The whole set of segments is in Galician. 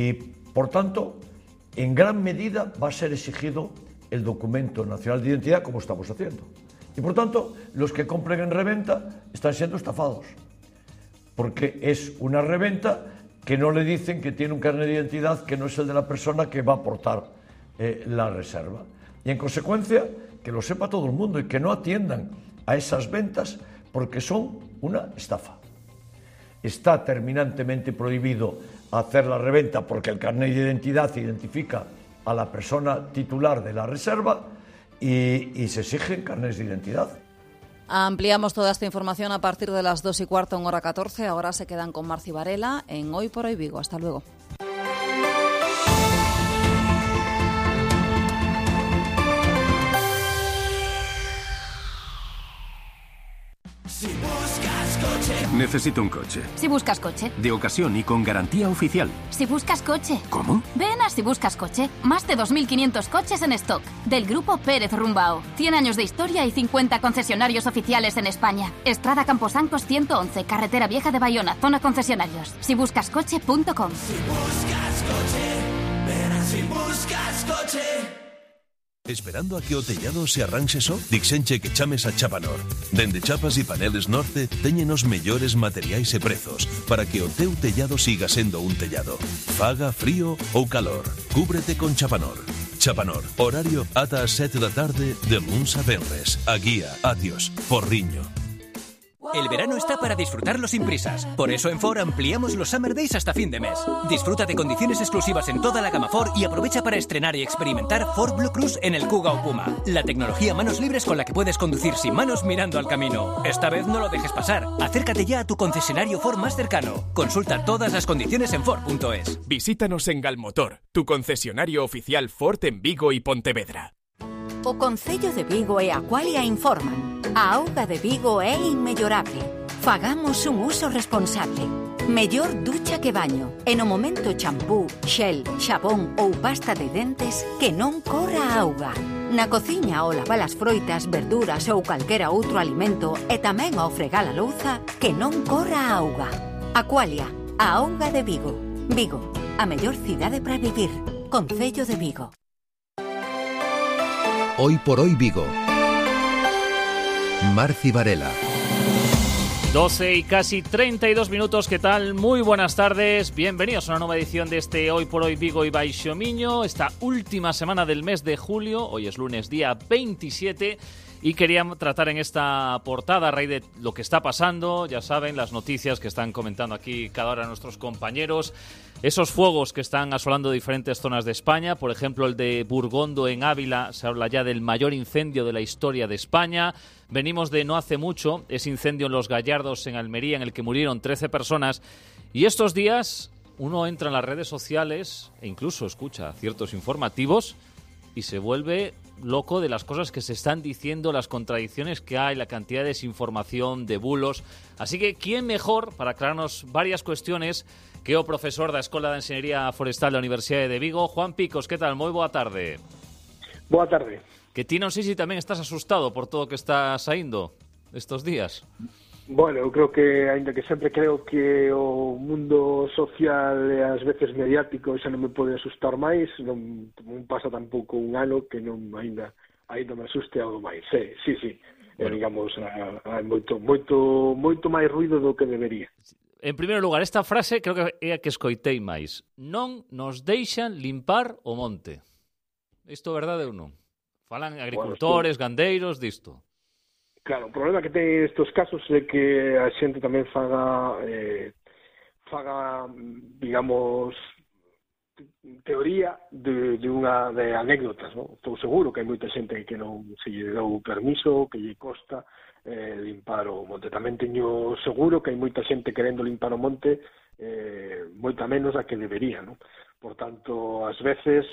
Y, por tanto, en gran medida va a ser exigido el documento nacional de identidad, como estamos haciendo. Y, por tanto, los que compren en reventa están siendo estafados, porque es una reventa que no le dicen que tiene un carnet de identidad que no es el de la persona que va a aportar la reserva. Y, en consecuencia, que lo sepa todo el mundo y que no atiendan a esas ventas porque son una estafa. Está terminantemente prohibido hacer la reventa porque el carnet de identidad identifica a la persona titular de la reserva y se exigen carnets de identidad. Ampliamos toda esta información a partir de las 2:15, 1:14. Ahora se quedan con Marci Varela en Hoy por Hoy Vigo. Hasta luego. Necesito un coche. Si buscas coche. De ocasión y con garantía oficial. Si buscas coche. ¿Cómo? Ven a Si buscas coche. Más de 2.500 coches en stock. Del grupo Pérez Rumbao. 100 años de historia y 50 concesionarios oficiales en España. Estrada Camposancos 111, Carretera Vieja de Bayona, zona concesionarios. Sibuscascoche.com. Si buscas coche, ven a Si buscas coche. Esperando a que o tellado se arranxe só? Dixenche que chames a Chapanor. Dende Chapas e Paneles Norte teñen os mellores materiais e prezos para que o teu tellado siga sendo un tellado. Faga frío ou calor. Cúbrete con Chapanor. Chapanor, horario ata as 7 da tarde de luns a venres. A guía, adiós, Porriño. El verano está para disfrutarlo sin prisas. Por eso en Ford ampliamos los Summer Days hasta fin de mes. Disfruta de condiciones exclusivas en toda la gama Ford y aprovecha para estrenar y experimentar Ford Blue Cruise en el Kuga o Puma. La tecnología manos libres con la que puedes conducir sin manos mirando al camino. Esta vez no lo dejes pasar. Acércate ya a tu concesionario Ford más cercano. Consulta todas las condiciones en Ford.es. Visítanos en Galmotor, tu concesionario oficial Ford en Vigo y Pontevedra. O Concello de Vigo e Aqualia informan. A auga de Vigo é inmellorable. Fagamos un uso responsable. Mellor ducha que baño. E no momento champú, xel, xabón ou pasta de dentes que non corra a auga. Na cociña ao lavar as froitas, verduras ou calquera outro alimento e tamén ao fregar a louza que non corra a auga. Aqualia, a auga de Vigo. Vigo, a mellor cidade para vivir. Concello de Vigo. Hoy por Hoy Vigo. Marci Varela. 12 y casi 32 minutos, ¿qué tal? Muy buenas tardes, bienvenidos a una nueva edición de este Hoy por Hoy Vigo y Baixo Miño, esta última semana del mes de julio, hoy es lunes día 27 y quería tratar en esta portada a raíz de lo que está pasando, ya saben, las noticias que están comentando aquí cada hora nuestros compañeros, esos fuegos que están asolando diferentes zonas de España, por ejemplo el de Burgondo en Ávila, se habla ya del mayor incendio de la historia de España. Venimos de no hace mucho, ese incendio en Los Gallardos, en Almería, en el que murieron 13 personas. Y estos días uno entra en las redes sociales e incluso escucha ciertos informativos y se vuelve loco de las cosas que se están diciendo, las contradicciones que hay, la cantidad de desinformación, de bulos. Así que, ¿quién mejor para aclararnos varias cuestiones que o profesor da Escola de Enxeñería Forestal da Universidade de Vigo? Juan Picos, que tal? Moi boa tarde. Boa tarde. Que ti non sei se tamén estás asustado por todo o que está saindo estos días. Bueno, eu creo que, ainda que sempre creo que o mundo social e ás veces mediático xa non me pode asustar máis, non pasa tampouco un ano que non ainda me asuste algo máis. Sí. Bueno. Digamos, hai moito máis ruido do que debería. En primeiro lugar, esta frase creo que é a que escoitei máis. Non nos deixan limpar o monte. Isto é verdade ou non? Falan agricultores, gandeiros, disto. Claro, o problema que ten estes casos é que a xente tamén faga, digamos, teoría de anécdotas, non? Estou seguro que hai moita xente que non se lle deu permiso, que lle costa limpar o monte. Tamén teño seguro que hai moita xente querendo limpar o monte, moita menos a que debería, non? Por tanto, ás veces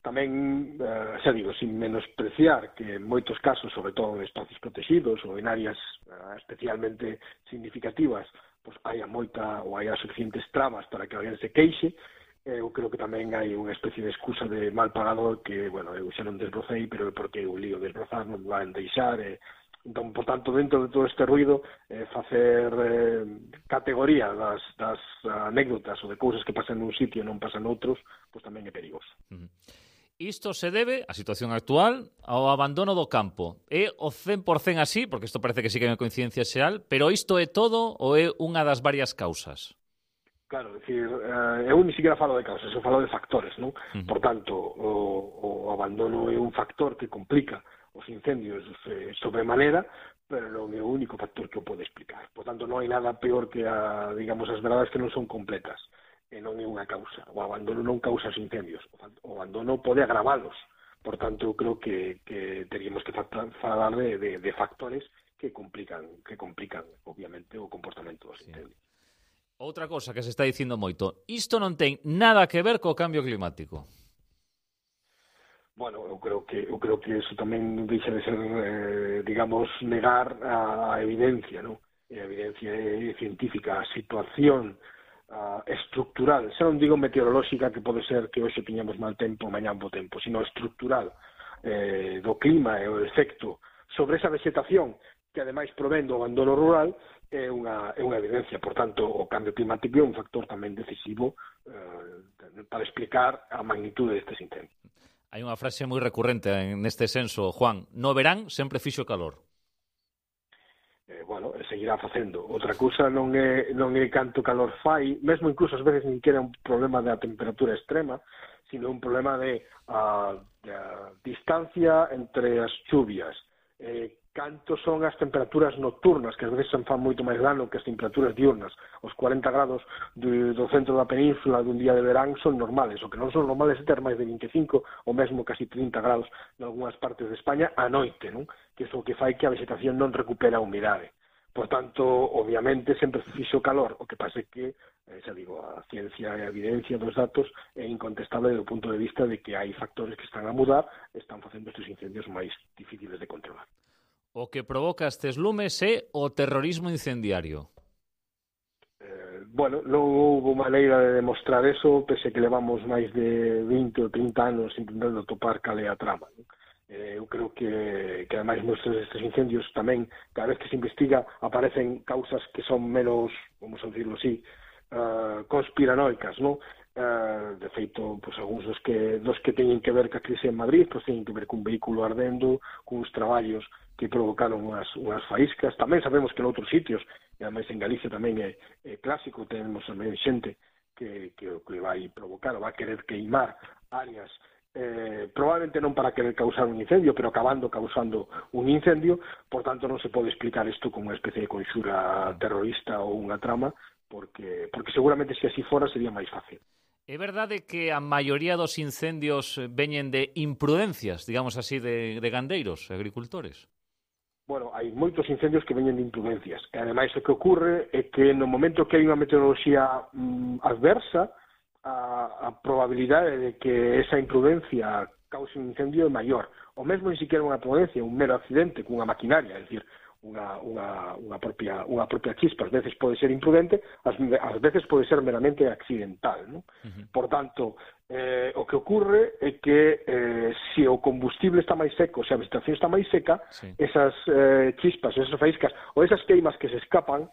tamén, xa digo, sin menospreciar que en moitos casos, sobre todo en espacios protegidos ou en áreas especialmente significativas, pois hai suficientes trabas para que alguén se queixe. Eu creo que tamén hai unha especie de excusa de mal pagador que, bueno, eu xa non desbrocei, pero é porque o lío desbrozar non van deixar, e Entón, por tanto, dentro de todo este ruido, facer categoría das anécdotas ou de cousas que pasan nun sitio e non pasan noutros, pois tamén é perigoso. Isto se debe, a situación actual, ao abandono do campo. É o 100% así, porque isto parece que sí que é unha coincidencia xeral, pero isto é todo ou é unha das varias causas? Claro, é dicir, eu ni siquiera falo de causas, eu falo de factores, non? Por tanto, o abandono é un factor que complica os incendios sobremanera, pero non é o único factor que o pode explicar. Por tanto, non hai nada peor que digamos, as verdades que non son completas. E non é unha causa. O abandono non causa os incendios. O abandono pode agravalos. Por tanto, eu creo que teríamos que falar de factores que complican, obviamente, o comportamento dos incendios. Outra cosa que se está dicindo moito. Isto non ten nada que ver co cambio climático. Bueno, eu creo que eso tamén deixa de ser, digamos, negar a evidencia, non? A evidencia científica, a situación estructural, xa non digo meteorolóxica, que pode ser que hoxe tiñamos mal tempo, mañá bo tempo, sino estructural do clima e o efecto sobre esa vegetación que ademais provén do abandono rural é unha evidencia. Por tanto, o cambio climático é un factor tamén decisivo para explicar a magnitude destes incendios. Hai unha frase moi recurrente neste senso, Juan. No verán sempre fixo calor. Bueno, seguirá facendo. Outra cousa non é canto calor fai, mesmo incluso ás veces nin que era un problema da temperatura extrema, sino un problema de distancia entre as chuvias. Canto son as temperaturas nocturnas, que ás veces fan moito máis dano que as temperaturas diurnas. Os 40 grados do centro da península dun día de verán son normales. O que non son normales é ter máis de 25 ou mesmo casi 30 grados en algunhas partes de España a noite, non? Que é o que fai que a vegetación non recupera a humidade. Por tanto, obviamente, sempre fixo calor. O que pasa é que, xa digo, a ciencia e a evidencia dos datos é incontestable do punto de vista de que hai factores que están a mudar e están facendo estes incendios máis difíciles de controlar. O que provoca estes lumes é o terrorismo incendiario. Bueno, non houve maneira de demostrar eso, pese que levamos máis de 20 ou 30 anos intentando topar cal é a trama. Eu creo que ademais nestes incendios tamén, cada vez que se investiga, aparecen causas que son menos, vamos a decirlo así, conspiranoicas, non? De feito, pues, algúns dos que teñen que ver ca crise en Madrid, pues, teñen que ver cun vehículo ardendo, cuns traballos que provocaron unhas faíscas. Tamén sabemos que en outros sitios, e ademais en Galicia tamén é clásico, tenemos tamén xente que vai provocar ou vai querer queimar áreas, probablemente non para querer causar un incendio, pero acabando causando un incendio. Por tanto, non se pode explicar isto como unha especie de conxura terrorista ou unha trama, porque seguramente se así fora sería máis fácil. É verdade que a maioría dos incendios veñen de imprudencias, digamos así, de gandeiros, agricultores? Bueno, hai moitos incendios que veñen de imprudencias. E ademais o que ocorre é que no momento que hai unha meteoroloxía adversa, a probabilidade de que esa imprudencia cause un incendio é maior. O mesmo ni siquiera unha imprudencia, un mero accidente cunha maquinaria, é dicir, unha propia chispa. Ás veces pode ser imprudente, ás veces pode ser meramente accidental, non? Por tanto, o que ocorre é que se o combustible está máis seco, se a vegetación está máis seca, esas chispas, esas faíscas ou esas queimas que se escapan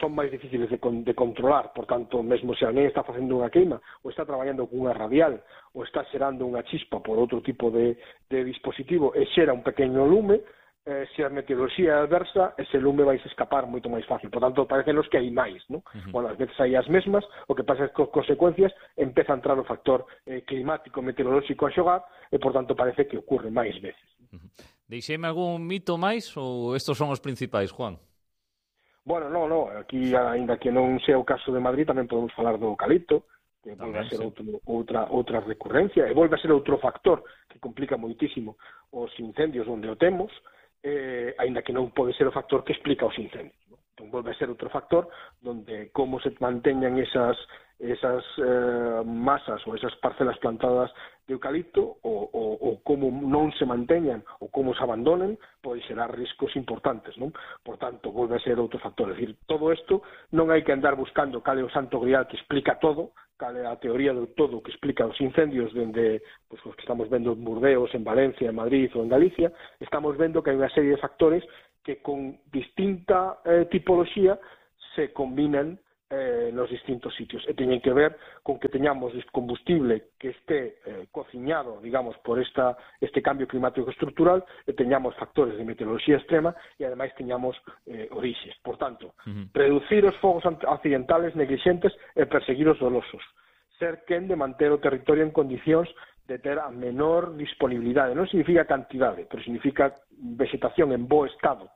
son máis difíciles de controlar. Por tanto, mesmo se alguén está facendo unha queima ou está traballando con unha radial ou está xerando unha chispa por outro tipo de dispositivo e xera un pequeno lume, se a meteoroloxía é adversa, ese lume vai se escapar moito máis fácil. Por tanto, parecenos que hai máis, non? Bueno, ás veces hai as mesmas, o que pasa é que as consecuencias empeza a entrar o factor climático, meteorolóxico a xogar, e por tanto parece que ocurre máis veces. Deixeme algún mito máis ou estos son os principais, Juan? Bueno, non, aquí, ainda que non sea o caso de Madrid, tamén podemos falar do eucalipto, que volve a ser outra recurrencia, e volve a ser outro factor que complica moitísimo os incendios onde o temos, aínda que non pode ser o factor que explica os incendios. Entón, volve a ser outro factor donde como se manteñan esas masas ou esas parcelas plantadas de eucalipto ou como non se manteñan ou como se abandonen pode xerar riscos importantes, non? Por tanto, volve a ser outro factor. É dicir, todo isto non hai que andar buscando cal é o santo grial que explica todo, cal é a teoría do todo que explica os incendios dende os que estamos vendo en Burdeos, en Valencia, en Madrid ou en Galicia. Estamos vendo que hai unha serie de factores que con distinta tipoloxía se combinan nos distintos sitios e teñen que ver con que teñamos combustible que esté cociñado, digamos, por este cambio climático estructural e teñamos factores de meteoroloxía extrema e ademais teñamos orixes. Por tanto, reducir os fogos accidentales neglixentes e perseguir os dolosos. Ser quen de manter o territorio en condicións de ter a menor disponibilidade. Non significa cantidade, pero significa vegetación en bo estado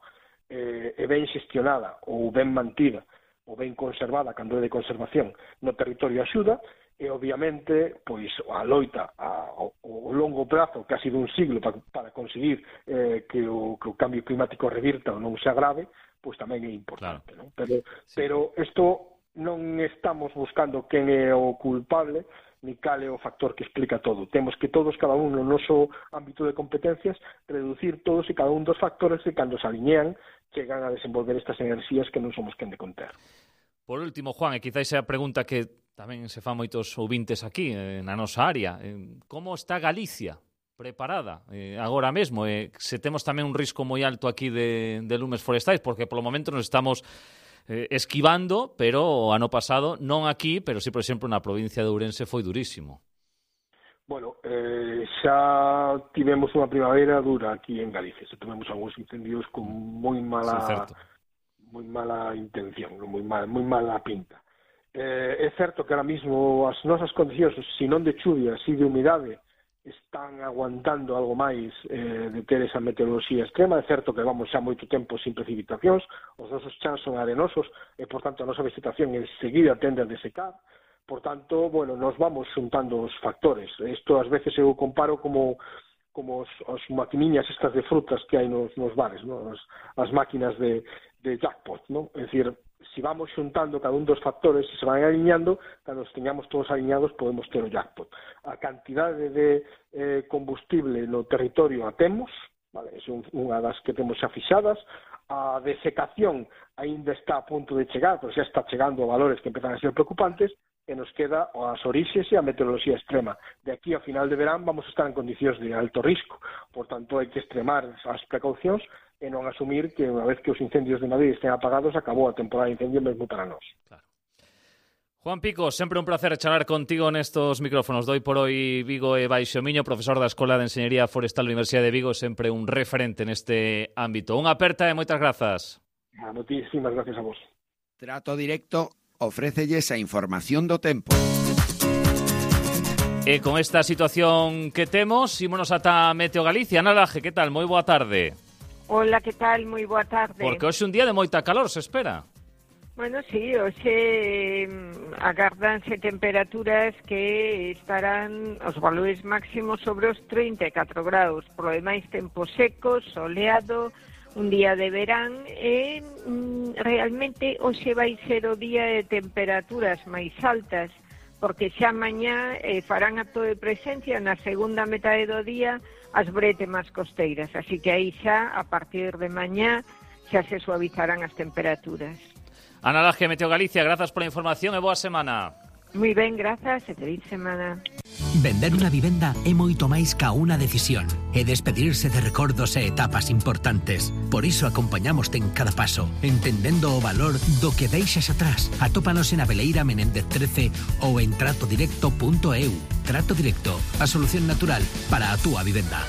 e ben xestionada ou ben mantida ou ben conservada, cando é de conservación, no territorio axuda, e obviamente pois a loita ao longo prazo, casi dun siglo, para conseguir que o cambio climático revirta ou non se agrave, pois tamén é importante. Claro. Non? Pero isto non estamos buscando quen é o culpable, ni cal é o factor que explica todo. Temos que todos, cada un no noso ámbito de competencias, reducir todos e cada un dos factores que, cando se alinean, chegan a desenvolver estas enerxías que non somos quen de conter. Por último, Juan, e quizáis a pregunta que tamén se fan moitos ouvintes aquí, na nosa área. Como está Galicia preparada agora mesmo? Se temos tamén un risco moi alto aquí de lumes forestais, porque polo momento nos estamos esquivando, pero o ano pasado, non aquí, pero sí, por exemplo, na provincia de Ourense foi durísimo. Bueno, xa tivemos unha primavera dura aquí en Galicia. Xa tivemos algúns incendios con moi mala intención, moi mala pinta. É certo que ahora mismo as nosas condicións, se non de chuvia, si de humidade, están aguantando algo máis de ter esa meteoroloxía extrema. É certo que vamos xa moito tempo sin precipitacións, os nosos chans son arenosos e, por tanto, a nosa vegetación enseguida tende a desecar. Por tanto, bueno, nos vamos xuntando os factores. Isto ás veces eu comparo como as maquiniñas estas de frutas que hai nos bares, ¿no? As máquinas de jackpot, ¿no? É dicir, si vamos xuntando cada un dos factores e se van aliñando, cando os teñamos todos aliñados podemos ter o jackpot. A cantidade de combustible no territorio a temos, vale? É unha das que temos xa fixadas. A desecación aínda está a punto de chegar, pero xa está chegando a valores que empezan a ser preocupantes, e nos queda as orixes e a meteoroloxía extrema. De aquí a final de verán vamos a estar en condicións de alto risco, por tanto hai que extremar as precaucións e non asumir que unha vez que os incendios de Madrid estén apagados acabou a temporada de incendio mesmo para nós. Claro. Juan Pico, sempre un placer charlar contigo nestos micrófonos. Doi por hoy Vigo e Baixo Miño, profesor da Escola de Enxeñería Forestal da Universidade de Vigo, sempre un referente neste ámbito. Unha aperta e moitas grazas. Moitísimas gracias a vos. Trato Directo ofrécelles a información do tempo. E con esta situación que temos, ímonos ata Meteo Galicia. Ana Laje, que tal? Moi boa tarde. Hola, que tal? Moi boa tarde. Porque hoxe un día de moita calor, se espera. Bueno, sí, hoxe agárdanse temperaturas que estarán os valores máximos sobre os 34 graus. Por lo demais, tempo seco, soleado, un día de verán e realmente hoxe vai ser o día de temperaturas máis altas, porque xa mañá farán acto de presencia na segunda metade do día as brétemas costeiras, así que aí xa, a partir de mañá, xa se suavizarán as temperaturas. Ana Laje, Meteo Galicia, grazas pola información e boa semana. Moi ben, grazas e feliz semana. Vender unha vivenda é moito máis ca unha decisión. É despedirse de recordos e etapas importantes. Por iso acompañamoste en cada paso, entendendo o valor do que deixas atrás. Atópanos en Abeleira Menéndez 13 ou en tratodirecto.eu. Trato Directo, a solución natural para a túa vivenda.